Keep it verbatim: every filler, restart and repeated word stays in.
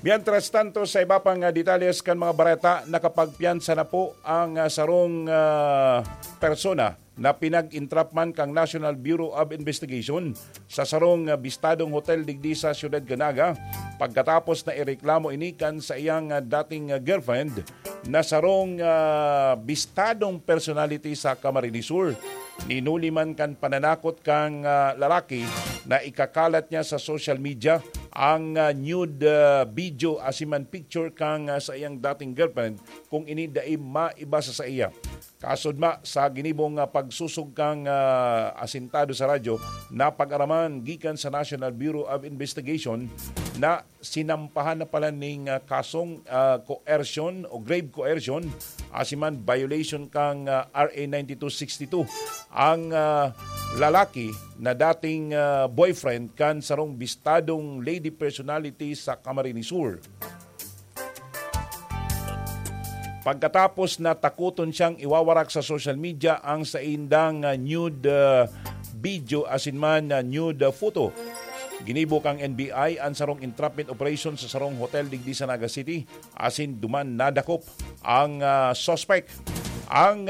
Mientras tanto, sa iba pang, ah, detalles kan mga bareta, nakapagpiyansa na po ang, ah, sarong, ah, persona na pinag-entrapman kan National Bureau of Investigation sa sarong, ah, bistadong hotel digdi sa siyudad kan Naga, pagkatapos na ireklamo ini kan sa iyang, ah, dating, ah, girlfriend na sarong, ah, bistadong personality sa Camarines Sur. Hinuli man kan pananakot kan, ah, lalaki na ikakalat niya sa social media ang, ah, nude, ah, video asin man picture kan, ah, sa iyang dating girlfriend, kung ini dai maiba sa saiya. Kasudma sa ginibong, ah, pagsusog kan, ah, asintado sa radyo, napag-araman gikan sa National Bureau of Investigation na sinampahan na pala ning, ah, kasong, ah, coercion o grave coercion, asin man violation kan, ah, R A ninety-two sixty-two ang, ah, lalaki na dating, ah, boyfriend kan sarong bistadong lady personality sa Camarines Sur. Pagkatapos na takoton siyang iwawarak sa social media ang saindang, ah, nude, ah, video asin man, ah, nude, ah, photo. Ginibo kan N B I an sarong entrapment operation sa sarong hotel digdi sa Naga City asin duman nadakop ang, ah, suspect. Ang